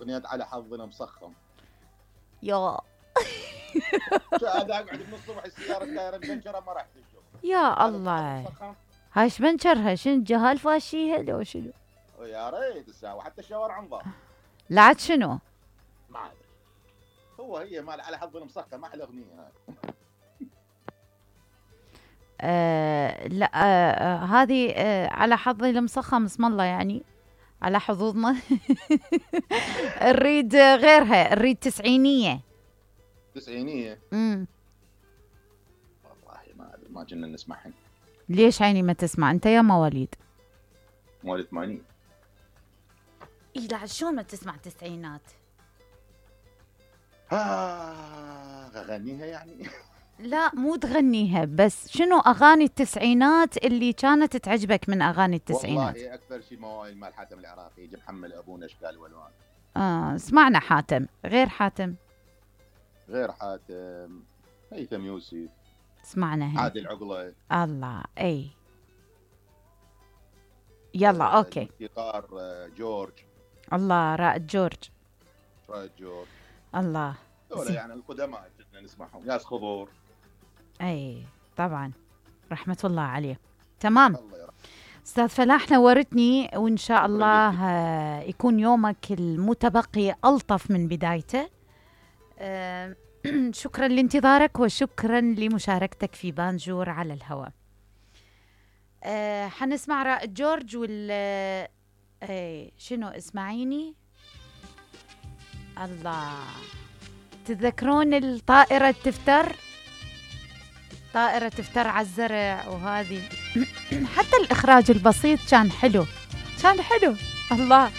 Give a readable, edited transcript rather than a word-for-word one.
اغنيه على حظنا مصخم. يا هذا اقعد من الصبح السياره التايره مبنشره ما رحت الشغل. يا الله، هاي شبنشرها شنو جهال فاشيها لو شنو؟ يا ريت الساعه حتى الشاور عنظام. لا عاد شنو؟ ما ادري. هي مال على حظنا مسخم احلى اغنيه هاي. لا هذه على حظي المسخم اسم الله يعني على حظوظنا. نريد غيرها، نريد تسعينية. تسعينية؟ والله ما ادري، ما كنا نسمعهن. ليش عيني ما تسمع؟ انت يا مواليد مواليد 80. اي لا شلون ما تسمع تسعينات؟ اغنيها يعني. لا مو تغنيها، بس شنو اغاني التسعينات اللي كانت تعجبك من اغاني التسعينات؟ والله اكثر شيء موال مال حاتم العراقي، يجي محمل ابونا اشكال والوان. سمعنا حاتم. غير حاتم؟ غير حاتم هيثم يوسف سمعنا عادل عقله. الله اي يلا اوكي. الموسيقار جورج. الله رائد جورج. رائد جورج الله. دول يعني القدماء كنا نسمعهم. ياس خضور. اي طبعا رحمة الله عليه. تمام. الله يرحمه. استاذ فلاح نورتني، وان شاء الله يكون يومك المتبقي الطف من بدايته. شكرا لانتظارك وشكرا لمشاركتك في بانجور على الهواء. حنسمع رائد جورج شنو اسمعيني. الله، تذكرون الطائرة تفتر؟ طائرة تفتر على الزرع وهذه. حتى الإخراج البسيط كان حلو، كان حلو. الله.